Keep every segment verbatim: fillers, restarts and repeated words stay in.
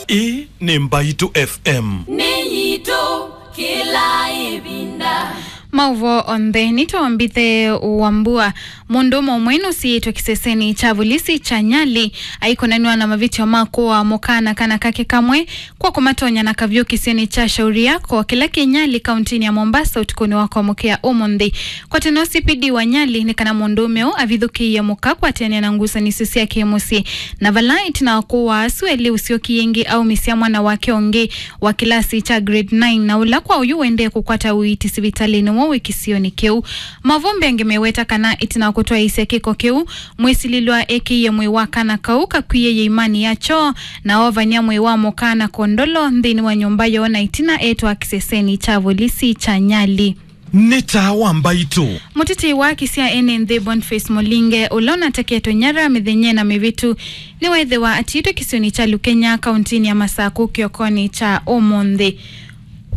Ĩĩ nĩ Mbaitũ F M. Nĩ yitũ kĩla ĩvinda. Maũvoo onthe nĩtwambĩte wa mbua. Mũndũũme ũmwe nũsiĩtwe kĩsesenĩ kya volisi kya Nyali aikonanw'a na mavĩtyo ma kũaa mũka na kana kake kamwe kwa kũmatonya na kavyũ kĩsionĩ kya Shauri Yako kĩla kĩ Nyali, kauntinĩ ya Mombasa ũtukũnĩ wa kwamũkĩa ũmũnthĩ. Kwa tene, O C P D wa Nyali nĩ kana mũndũũme ũũ avithũkĩie mũka kwatĩanĩa na ngusanĩsyo sya kĩ-mũsyĩ, na vala ĩtina wa kũaa asu elĩ, ũsyokie ĩngĩ aumisya mwana wake ũngĩ wa kĩlasi kya grade nine, na ũla kwa ũyu ũendee kũkwata ũiiti sivitalĩnĩ ũmwe wĩ kĩsionĩ kĩu. Maũvoo mbeange meweta kana ĩtina wa kũtwaĩĩsya kĩko kĩu, mwĩsilĩlwa ekĩie mwĩĩ wa kana kau kakwie yĩimanĩ ya kyoo, na oovany'a mwĩĩ wa mũka na kondolo nthĩnĩ wa nyũmba yoo, na ĩtina etwaa kĩsesenĩ kya volisi kya Nyali. Nĩ taa wa Mbaitũ. Mũtetei wa haki sya ene nthĩ Boniface Mũlinge, ũla ũnateketwe nyara mĩthenya ĩna mĩvĩtu, nĩweethĩwa atiĩtwe kĩsionĩ kya Lukenya, kauntinĩ ya Masakũ, kĩokonĩ kya ũmũnthĩ.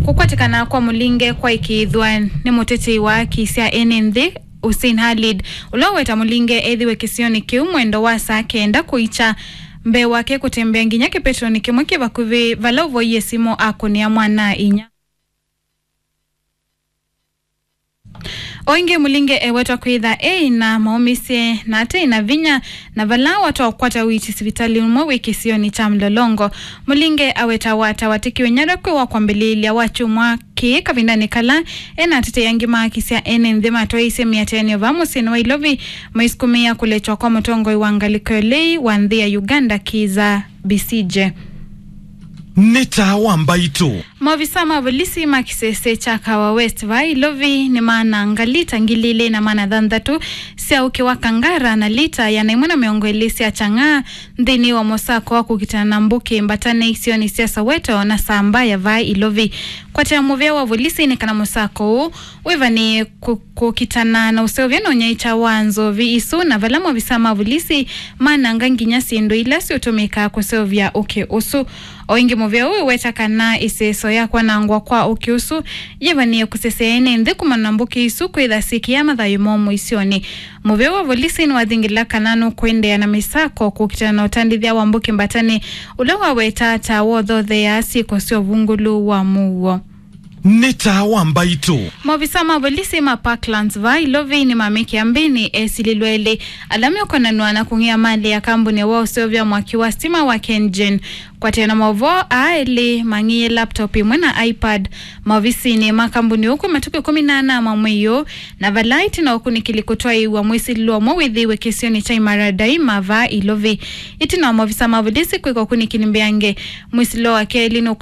Kũkwatĩkana kwa Mũlinge kwaĩkĩĩthw'a nĩ mũtetei wa haki sya ene nthĩ, Hussein Khalid, ũla ũweta Mũlinge ethĩwe kĩsionĩ kĩu mwendo wa saa kenda kũikya, mbee wake kũtembea nginya kĩpetonĩ kĩmwe kĩ vakuvĩ, vala ũvoie simũ akũnĩa mwana-a-inyia. O ĩngĩ, Mũlinge ewetwa kwĩtha eĩ na maũmĩsye na ate na vinya, na vala watwa kũkwata ũiiti sivitalĩ ũmwe wĩ kĩsionĩ kya Mlolongo. Mũlinge awetawa ta watĩkiwe nyara kwĩ wa kwambĩlĩĩlya wa kyumwa kĩĩ, kavindanĩ kala e na atetei angĩ ma haki sya ene nthĩ matwaĩĩsye mĩatĩanĩo vaa mũsyĩnĩ wa Ilovi, maisukumĩa kũletwa kwa mũtongoi wa ngalĩko ya ũlei wa nthĩ ya Uganda, Kizza Besigye. Nĩ taa wa Mbaitũ. Maovisa ma volisi ma kĩsese kya Kawa West vaa Ilovi nĩmaananga lita ngili ilĩ na maana thanthatũ sya ũkĩ wa Kangara na lita ĩana ĩmwe na mĩongo ĩlĩ sya Chang'aa nthĩnĩ wa mũsako wa kũkitana na mbũkĩ mbatane isionĩ sya Soweto na Sambaya vaa Ilovi. Kwatĩa mũvea wa volisi nĩ kana mũsako ũũ wĩvanĩe kũ-, kũkitana na ũseũvya na ũnyaĩĩkya wa nzovi isu, na vala maovisa ma volisi mananga nginya syĩndũ ila siũtũmĩkaa kũseũvya ũkĩ ũsu. O ĩngĩ, mũvea ũũ wĩweta kana ĩseso ya kwanangwa kwa ũkĩ ũsu yĩvanĩe kũsesea ene nthĩ kumana na mbũkĩ isu kwĩtha syĩkĩaa mathayũ momũ isionĩ. Mũvea wa volisi nĩwathingĩla kana nũkũendeea na mĩsako kũkitana na ũtandĩthya wa mbũkĩ mbatane, ũla waweta ta wothotheaa syĩko sya ũvungũlu wa mũuo. Nĩ taa wa Mbaitũ. Maovisa ma volisi ma Parklands vaa Ilovi nĩmamĩkĩa mbĩnĩ esilĩlwa elĩ ala meũkonanw'a na kũng'ĩa malĩ ya kambuni wa ũseũvya mwaki wa stima wa KenGen. Kwatĩana maũvoo, aa elĩ mang'ĩie laptop ĩmwe na iPad maovisinĩ ma kambuni ũũ kwĩ matukũ ĩkũmi na ana ma mwei ũũ, na vala ĩtina wa ũkunĩkĩli kũtwaĩĩw'a, mwĩsilĩlwa ũmwe wĩthĩiwe kĩsionĩ kya Imara Daima vaa Ilovi. Ĩtina wa maovisa ma volisi kwĩka ũkunĩkĩli mbeange, mwĩsilĩlwa wa kelĩ nũkũ-